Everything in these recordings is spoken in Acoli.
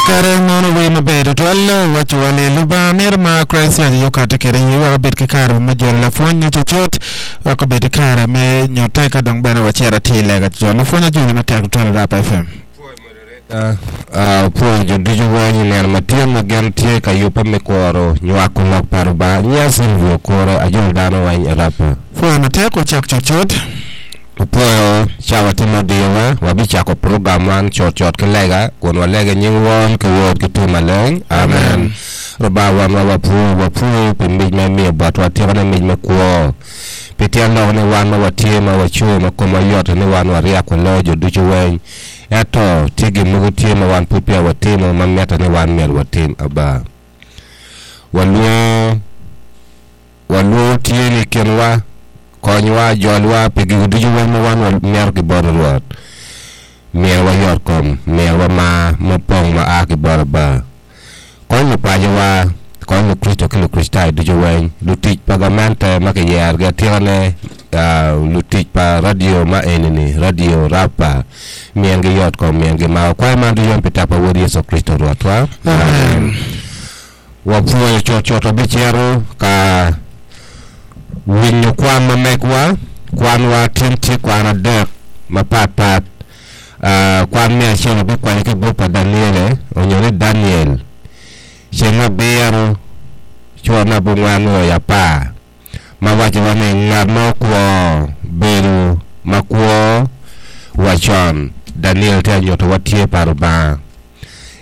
Kakare mono wer maber tutwal wacowa ni Lubanga mito ma Christ aye okati kwede iye wek obed ki kare me jolo lapwony cucut wek obed ki kare me nyute ka dong bene wacito atir i lega cucut. Lapwony ajoli matek tutwal i Rap FM. Opwoyo jo ducu weng i nino ma tye ma gin tye ka yubbe me kuro nywako lok pa Rubanga. Nyinga Silvio Okure, ajolo dano weng i Rapa. Pwoyo matek wacak cutcut. Opwoyo cawa tye ma odiyowa, wabicako program man cutcut ki lega kun walego i nying Won ki Wod ki Cwiny Maleng. Amen. Rubanga Wonwa wapwoyi, wapwoyi pi mic ma imiyo botwa, atikane mic me kwo. Pi tyen lok ni wan ma watye ma wacung ma komwa yot ni wan waryek waloyo jo ducu weng. Ento, tye gin mogo tye ma wan pud peya watimo ma mitte ni wan myero watim. Aba. Walwongo, walwongo tye ni i kinwa, konywa, jolwa pi gigo ducu weng ma wan wamito ki bot Rwot. Myero wayot kom, myero wamar mupong ma a ki bot Aba. Kony lupacowa, kony Lukricito ki Lukricitayo ducu weng, lutic pa gamente ma kiyerogi atikane, lutic pa radio ma eni-ni, radio Rapa, myergi yot kom, myergi mar. Wakwayo man ducu weng pi tek pa Wod Yecu Kricito Rwotwa. Amen. Wapwoyo cutcut wabicito ka winyo kwan ma megwa. Kwanwa tin tye kwan adek mapatpat. Kwan me acel wabikwanyo ki i buk pa Daniele onyo ni Daniel, ceng abiro cura me abongwen nyo i apar, ma wacowa ni ngat ma okwo bedo makwo wa con. Daniel tye ka nyutowa tye pa Lubanga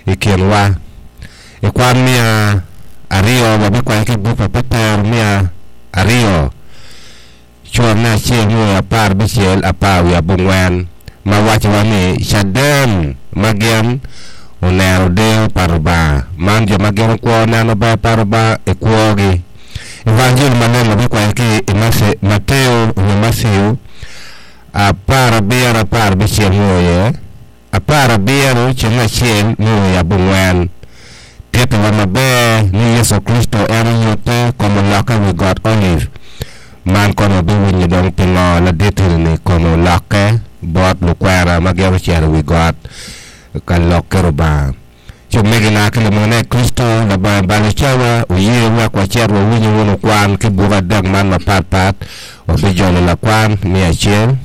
i kinwa. I kwan miya aryo wabikwanyo ki i buk pa Petero miya aryo. Cura me acel nyo aparbicel apar wiye abongwen ma wacowa ni caden ma gin oneno deyo pa Rubanga. Man jo ma gin okwo neno ber pa Rubanga i kwogi. Evanjili maleng wabikwanyo ki i Mateo nyo Matthew aparabiro aparbicel nyo iye. Aparabiro ceng acel me wiye abongwen tittiwa maber ni Yecu Kricito en onyutte kom olokke i wi got Olive. Man kono wabiwinyo dong pingo ladit-ni kome olokke bot lukwena ma gin ocito i wi got ka lok ki Rubanga. Ci omegina ki lumegina i Kricito, labongo balo cawa, wuye wek wacit wawinyu wunu kwan ki buk adek man mapatpat. Wabijolo lakwan me acel.